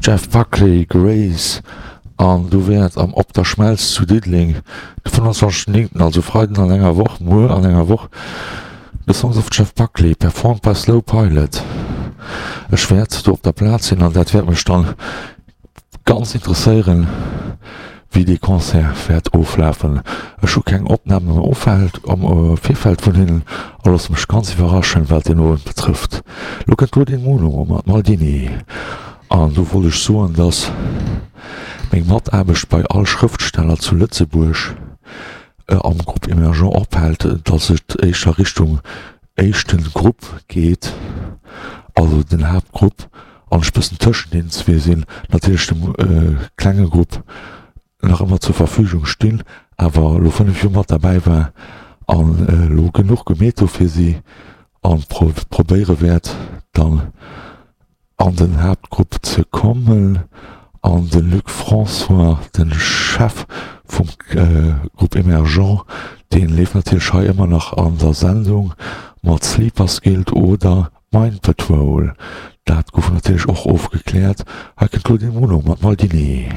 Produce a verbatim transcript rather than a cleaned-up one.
Jeff Buckley, Grace, an do wäert am Op der Schmelz zu Diddeleng de fënnwanzwanzegsten néngten, also Freiden an enger Woch, muer an enger Woch, The Songs of Jeff Buckley performed by Slow Pilot. Ech wäert do op der Plaz sinn an dat wäert mech dann ganz interesséieren, wéi dee Concert wäert oflafen. Ech hu keng Opnamen am Offeld, am Virfeld vun hinnen a loosse mech ganz iwwerraschen, wat deen Owend betrëfft. Lo kënnt Claudine Muno mat Maldini an do wollt ech soen, dass meng Mataarbecht bei all Schrëftsteller zu Lëtzebuerg am Groupe Emergent ophält, dass et éischter Richtung éischten Grupp geet, also den Haaptgrupp, an ech bëssen tëschent deenen zwee sinn, natierlech dem klenge Grupp nach ëmmer zur Verfügung stinn, awer elo fënnef Joer mat derbäi war an elo genuch gemeet hu fir si an probéiere wäert dann an den Haaptgrupp ze kommen. An de Luc François, de Chef vum Groupe Emergent, dee leeft natierlech hei ëmmer nach an der Sendung mat Sleepers Guild oder Mind Patrol. Dat gouf natierlech och ofgekläert. Hei kënnt Claudine Muno mat Maldini.